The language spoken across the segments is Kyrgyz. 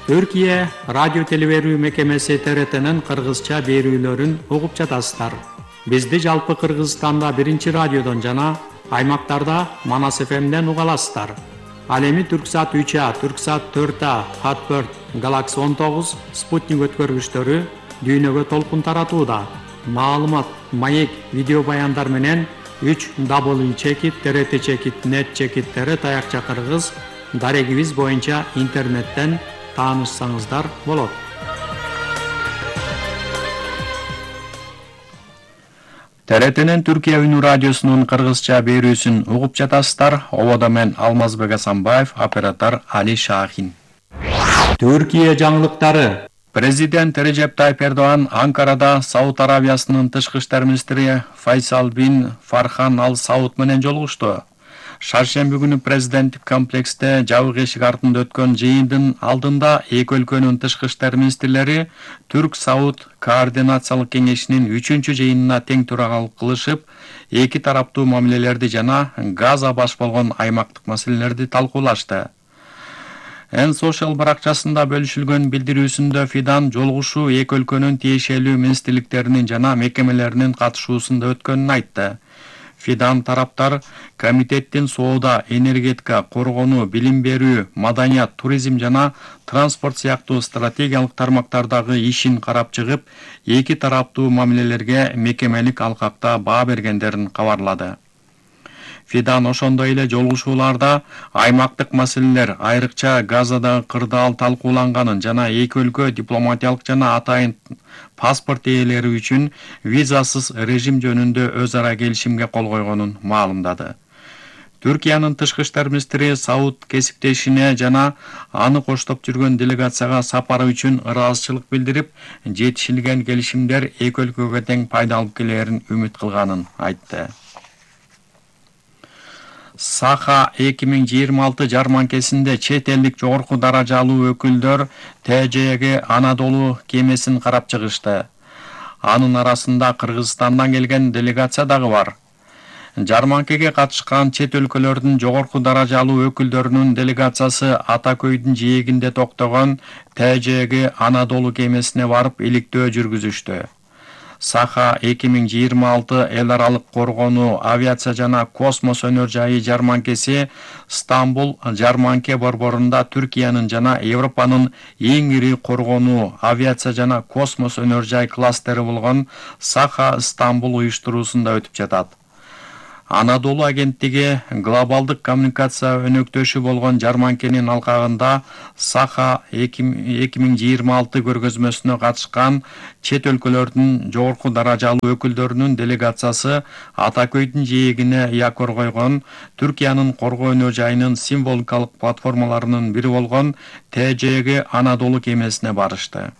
Түркия радио телеберүү мекемеси ТРТнын кыргызча берүүлөрүн угуп жатасыздар. Бизди жалпы Кыргызстанда 1 радиодон жана аймактарда Манас ФМден уга аласыздар. Ал эми Түрксат 3А, Түрксат 4А, Хат4, Galaxy 19, Спутник өткөргүчтөрү дүйнөгө толкун таратууда. Маалымат, маек, видео баяндар менен 3w.trt.net таякча кыргыз дарегибиз боюнча интернеттен таанышсаңыздар болот. ТРТнин Түркия үнү радиосунун кыргызча берүүсүн угуп жатасыздар. Ободо мен Алмазбек Асанбаев, оператор Али Шахин. Түркия жаңылыктары. Президент Режеп Тайип Эрдоган Анкарада Сауд Аравиясынын тышкы иштер министри Файсал бин Фархан ал Сауд менен жолугушту. Шаршемби күнү президенттик комплексте жабык эшик артында өткөн жыйындын алдында эки өлкөнүн тышкы иштер министрлери Түрк-Сауд координациялык кеңешинин 3-чү жыйынына тең төрагалык кылышып, эки тараптуу мамилелерди жана Газа баш болгон аймактык маселелерди талкуулашты. Social баракчасында бөлүшүлгөн билдирүүсүндө Фидан жолугушуу эки өлкөнүн тиешелүү министрликтеринин жана мекемелеринин катышуусунда өткөнүн айтты. Фидан тараптар комитеттин соода, энергетика, коргонуу, билим берүү, маданият, туризм жана транспорт сыяктуу стратегиялык тармактардагы ишин карап чыгып, эки тараптуу мамилелерге мекемелик алкакта баа бергендерин кабарлады. Фидан ошондой эле жолугушууларда аймактык маселелер, айрыкча Газадагы кырдаал талкууланганын жана эки өлкө дипломатиялык жана атайын паспорт ээлери үчүн визасыз режим жөнүндө өз ара келишимге кол койгонун маалымдады. Түркиянын тышкы иштер министри Сауд кесиптешине жана аны коштоп жүргөн делегацияга сапары үчүн ыраазычылык билдирип, жетишилген келишимдер эки өлкөгө тең пайда алып келерин үмүт кылганын айтты. Саха 2026 жарманкесинде чет элдик жогорку даражалуу өкүлдөр ТЖГ Анадолу кемесин карап чыгышты. Анын арасында Кыргызстандан келген делегация дагы бар. Жарманкеге катышкан чет өлкөлөрдүн жогорку даражалуу өкүлдөрүнүн делегациясы Ата көйдүн жээгинде токтогон ТЖГ Анадолу кемесине барып иликтөө жүргүзүштү. Саха 2026 эл аралык коргонуу, авиация жана космос өнөр жайы жарманкеси Стамбул жарманке борборунда Түркиянын жана Европанын эң ири коргонуу, авиация жана космос өнөр жай кластери болгон Саха Стамбул уюштуруусунда өтүп жатат. Анадолу агенттиги глобалдык коммуникация өнөктөшү болгон жарманкенин алкагында Саха 2026 көргөзмөсүнө катышкан чет өлкөлөрдүн жогорку даражалуу өкүлдөрүнүн делегациясы Ата көйдүн жээгине якор койгон Түркиянын коргоо өнөр жайынын символикалык платформаларынын бири болгон ТЖГ Анадолу кемесине барышты.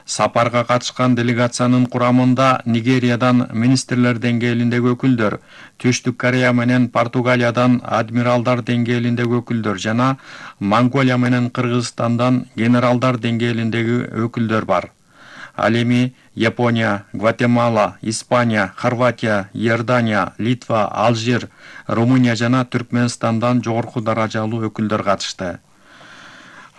Сапарга катышкан делегациянын курамында Нигериядан министрлер деңгээлиндеги өкүлдөр, Түштүк Корея менен Португалиядан адмиралдар деңгээлиндеги өкүлдөр жана Монголия менен Кыргызстандан генералдар деңгээлиндеги өкүлдөр бар. Ал эми Япония, Гватемала, Испания, Хорватия, Иордания, Литва, Алжир, Румыния жана Түркмөнстандан жогорку даражалуу өкүлдөр катышты.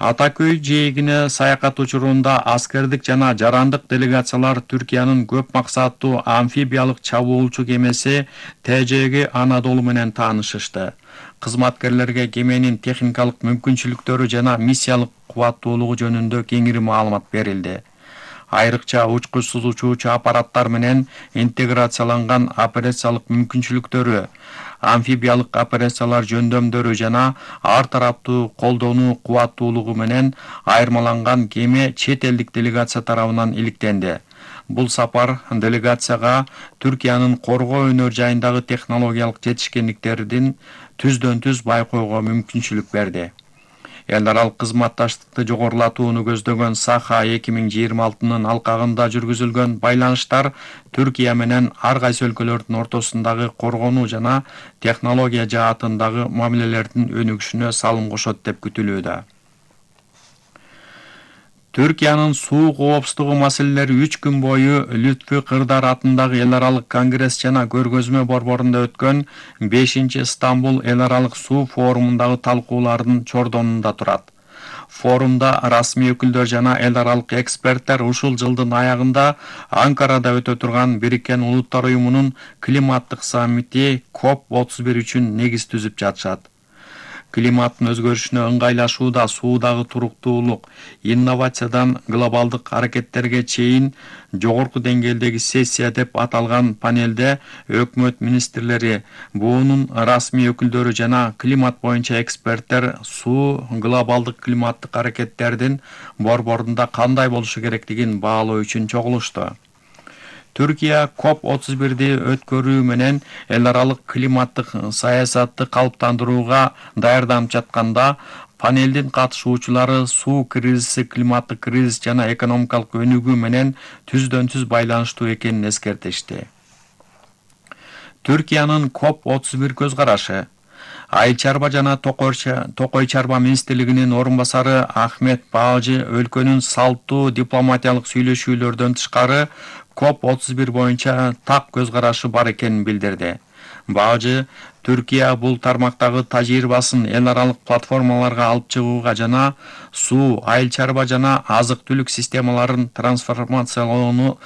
Ата көй жээгине саякат учурунда аскердик жана жарандык делегациялар Түркиянын көп максаттуу амфибиялык чабуулчу кемеси ТЖГ Анадолу менен таанышышты. Кызматкерлерге кеменин техникалык мүмкүнчүлүктөрү жана миссиялык кубаттуулугу жөнүндө кеңири маалымат берилди. Айрыкча учкучсуз учуучу аппараттар менен интеграцияланган операциялык мүмкүнчүлүктөрү, амфибиялык операциялар жөндөмдөрү жана ар тараптуу колдонуу кубаттуулугу менен айырмаланган кеме чет элдик делегация тарабынан иликтенди. Бул сапар делегацияга Түркиянын коргоо өнөр жайындагы технологиялык жетишкендиктерин түздөн-түз байкоого мүмкүнчүлүк берди. Эл аралык кызматташтыкты жогорулатууну көздөгөн Саха 2026-нын алкагында жүргүзүлгөн байланыштар Түркия менен ар кайсы өлкөлөрдүн ортосундагы коргонуу жана технология жаатындагы мамилелердин өнүгүшүнө салым кошот деп күтүлүүдө. Түркиянын суу коопсуздугу маселелери 3 күн бою Лүтфү Кырдар атындагы эл аралык конгресс жана көргөзмө борборунда өткөн 5-Стамбул эл аралык суу форумундагы талкуулардын чордонунда турат. Форумда расмий өкүлдөр жана эл аралык эксперттер ушул жылдын аягында Анкарада өтө турган Бириккен Улуттар уюмунун климаттык саммити COP31 үчүн негиз түзүп жатышат. Климаттын өзгөрүшүнө ыңгайлашууда суудагы туруктуулук, инновациядан глобалдык аракеттерге чейин жогорку деңгээлдеги сессия деп аталган панелде өкмөт министрлери, буунун расмий өкүлдөрү жана климат боюнча эксперттер суу глобалдык климаттык аракеттердин борборунда кандай болушу керектигин баалоо үчүн чогулушту. Түркия COP31 өткөрүү менен эл аралык климаттык саясатты калыптандырууга даярданып жатканда, панелдин катышуучулары суу кризиси климаттык кризис жана экономикалык өнүгүү менен түздөн-түз байланыштуу экенин эскертишти. Түркиянын COP31 көз карашы. Айыл чарба жана токой чарба министрлигинин орун басары Ахмет Баажы өлкөнүн салттуу дипломатиялык сүйлөшүүлөрдөн тышкары COP31 боюнча так көз карашы бар экенин билдирди. Баажы Түркия бул тармактагы тажрыйбасын эл аралык платформаларга алып чыгууга жана суу, айыл чарба жана азык-түлүк системаларын трансформациялоону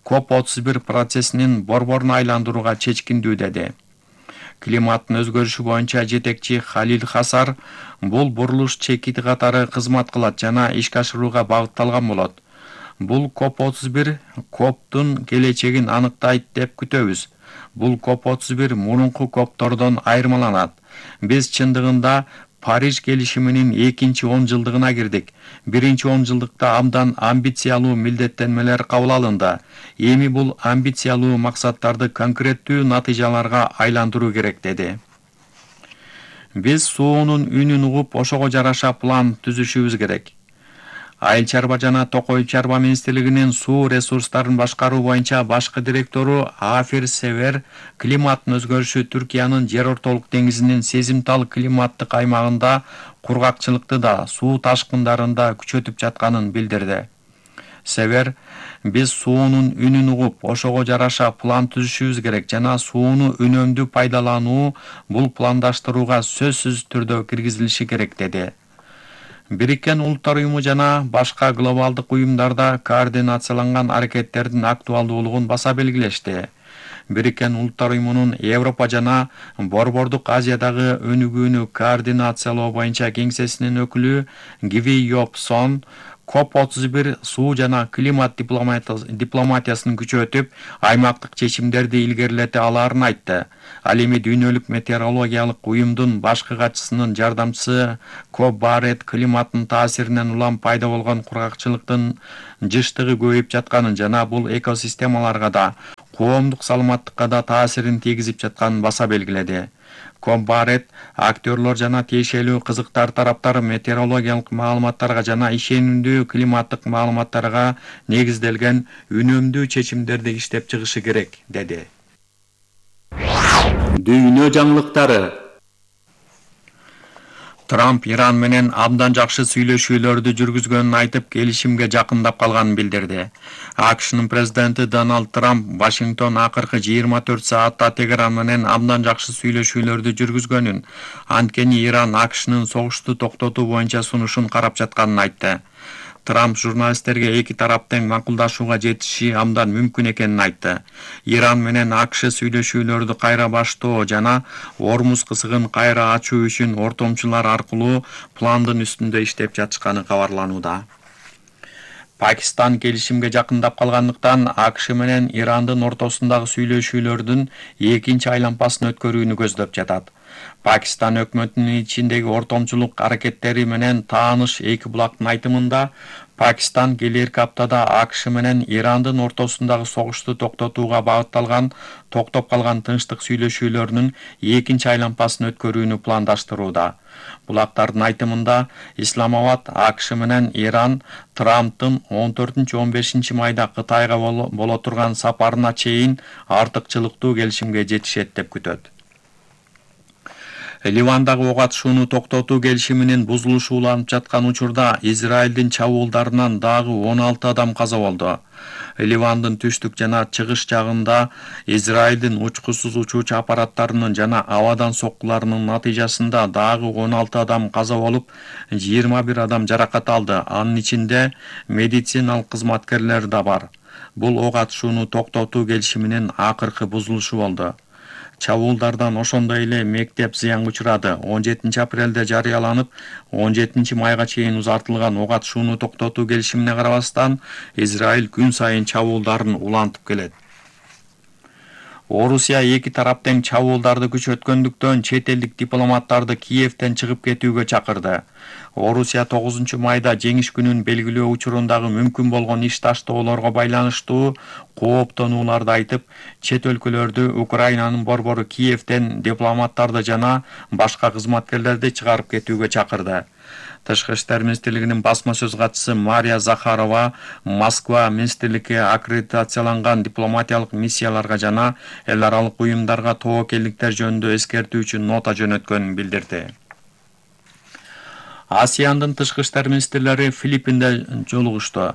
COP31 процессинин борборуна айландырууга чечкиндүү деди. Климаттын өзгөрүшү боюнча жетекчи Халил Хасар бул бурулуш чекити катары кызмат кылат жана ишке ашырууга багытталган болот. Бул COP31 COPтун келечегин аныктайт деп күтөбүз. Бул COP31 мурунку COPтордон айырмаланат. Биз чындыгында Париж келишиминин 2-10 жылдыгына кирдик. 1-10 жылдыкта абдан амбициялуу милдеттенмелер кабыл алынды. Эми бул амбициялуу максаттарды конкреттүү натыйжаларга айландыруу керек деди. Биз суунун үнүн угуп, ошого жараша план түзүшүбүз керек. Айыл чарба жана токой чарба министрлигинин суу ресурстарын башкаруу боюнча башкы директору Афир Север климаттын өзгөрүшү Түркиянын жер ортолук деңизинин сезимтал климаттык аймагында кургакчылыкты да, суу ташкындарын да күчөтүп жатканын билдирди. Север, биз суунун үнүн угуп, ошого жараша план түзүшүбүз керек жана сууну үнөмдүү пайдалануу бул пландаштырууга сөзсүз түрдө киргизилиши керек деди. Бириккен Улуттар уюму жана башка глобалдык уюмдарда координацияланган аракеттердин актуалдуулугун баса белгилешти. Бириккен Улуттар уюмунун Европа жана Борбордук Азиядагы өнүгүүнү координациялоо боюнча кеңсесинин өкүлү Гиви Йопсон COP31 суу жана климат дипломатиясын күчөтүп, аймактык чечимдерди илгерилете алаарын айтты. Ал эми дүйнөлүк метеорологиялык уюмдун башкы катчысынын жардамчысы Коп Барет климаттын таасиринен улам пайда болгон кургакчылыктын жыштыгы көбөйүп жатканын жана бул экосистемаларга да, коомдук саламаттыкка да таасирин тийгизип жатканын баса белгиледи. Коп Барет актерлор жана тиешелүү кызыктар тараптар метеорологиялык маалыматтарга жана ишенимдүү климаттык маалыматтарга негизделген үнөмдүү чечимдерди иштеп чыгышы керек, деди. Дүйнө жаңылыктары. Трамп Иран менен абдан жакшы сүйлөшүүлөрдү жүргүзгөнүн айтып, келишимге жакындап калганын билдирди. АКШнын президенти Дональд Трамп Вашингтон акыркы 24 саатта Тегеран менен абдан жакшы сүйлөшүүлөрдү жүргүзгөнүн, анткени Иран АКШнын согушту токтотуу боюнча сунушун карап жатканын айтты. Трамп журналисттерге эки тарап тең макулдашууга жетиши абдан мүмкүн экенин айтты. Иран менен АКШ сүйлөшүүлөрдү кайра баштоо жана Ормуз кысыгын кайра ачуу үчүн ортомчулар аркылуу пландын үстүндө иштеп жатышканы кабарланууда. Пакистан келишимге жакындап калгандыктан АКШ менен Ирандын ортосундагы сүйлөшүүлөрдүн экинчи айлампасын өткөрүүнү көздөп жатат. Пакистан өкмөтүнүн ичиндеги ортомчулук аракеттери менен тааныш эки булактын айтымында, Пакистан келерки аптада АКШ менен Ирандын ортосундагы согушту токтотууга багытталган токтоп калган тынчтык сүйлөшүүлөрүнүн экинчи айлампасын өткөрүүнү пландаштырууда. Булактардын айтымында, Исламабад АКШ менен Иран Трамптын 14-15 майда Кытайга боло турган сапарына чейин артыкчылыктуу келишимге жетишет деп күтөт. Ливандагы ок атышууну токтотуу келишиминин бузулушу уланып жаткан учурда Израилдин чабуулдарынан дагы 16 адам каза болду. Ливандын түштүк жана чыгыш жагында Израилдин учкусуз учуучу аппараттарынын жана абадан соккуларынын натыйжасында дагы 16 адам каза болуп, 21 адам жаракат алды. Анын ичинде медициналык кызматкерлер да бар. Бул ок атышууну токтотуу келишиминин акыркы бузулушу болду. Чабуулдардан ошондой эле мектеп зыянга учурады. 17 апрелде жарыяланып, 17 майга чейин узартылган ок атышууну токтотуу келишимине карабастан, Израиль күн сайын чабуулдарын улантып келет. Орусия эки тарап тең чабуулдарды күчөткөндүктөн чет элдик дипломаттарды Киевден чыгып кетүүгө чакырды. Орусия 9 майда жеңиш күнүн белгилөө учурундагы мүмкүн болгон иш таштоолорго байланыштуу кооптонууларды айтып, чет өлкөлөрдү Украинанын борбору Киевден дипломаттарды жана башка кызматкерлерди чыгарып кетүүгө чакырды. Тышкы иштер министрлигинин басма сөз катчысы Мария Захарова Москва министрликке аккредитацияланган дипломатиялык миссияларга жана эл аралык уюмдарга тобокелдиктер жөнүндө эскертүүчү нота жөнөткөнүн билдирди. Асияндын тышкы иштер министрлери Филиппинде жолугушту.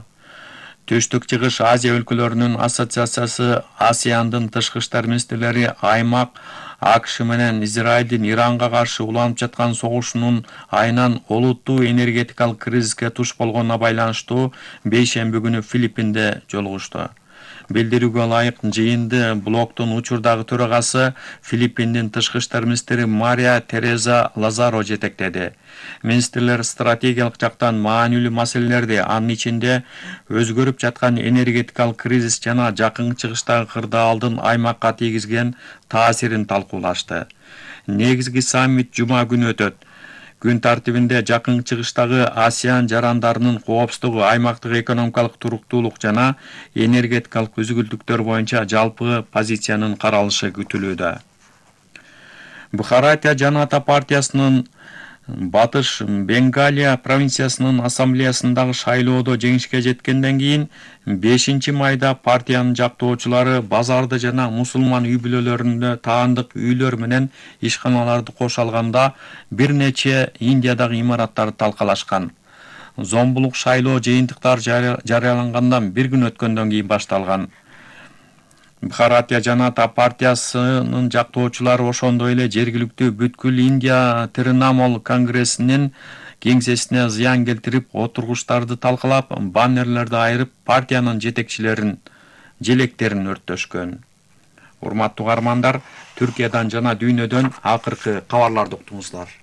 Түштүк чыгыш Азия өлкөлөрүнүн ассоциациясы Асияндын тышкы иштер министрлери аймак АКШ менен Израилдин Иранга каршы уланып жаткан согушунун айынан олуттуу энергетикалык кризиске туш болгонуна байланыштуу бейшемби күнү Филиппинде жолугушту. Билдирүүгө ылайык, жыйынды блоктун учурдагы төрагасы Филиппиндин тышкы иштер министри Мария Тереза Лазаро жетектеди. Министрлер стратегиялык жактан маанилүү маселелерди, анын ичинде өзгөрүп жаткан энергетикалык кризис жана жакынкы чыгыштагы кырдаалдын аймакка тийгизген таасирин талкуулашты. Негизги саммит жума күнү өтөт. Күн тартибинде жакынкы чыгыштагы ASEAN жарандарынын коопсуздугу, аймактык экономикалык туруктуулук жана энергетикалык үзгүлтүктөр боюнча жалпы позициянын каралышы күтүлүүдө. Бхаратия Жаната партиясынын Батыш Бенгалия провинциясынын ассамблеясындагы шайлоодо жеңишке жеткенден кийин 5 майда партиянын жактоочулары базарды жана мусулман үй бүлөлөрүндө таандык үйлөр менен ишканаларды кошо алганда бир нече Индиядагы имараттарды талкалашкан. Зомбулук шайлоо жыйынтыктары жарыялангандан бир күн өткөндөн кийин башталган. Бхаратия Жаната партиясынын жактоочулары ошондой эле жергиликтүү бүткүл Индия Тринамол конгрессинин кеңсесине зыян келтирип, отургучтарды талкалап, баннерлерди айырып, партиянын жетекчилерин желектерин өрттөшкөн. Урматтуу угармандар, Түркиядан жана дүйнөдөн акыркы кабарларды уктуңуздар.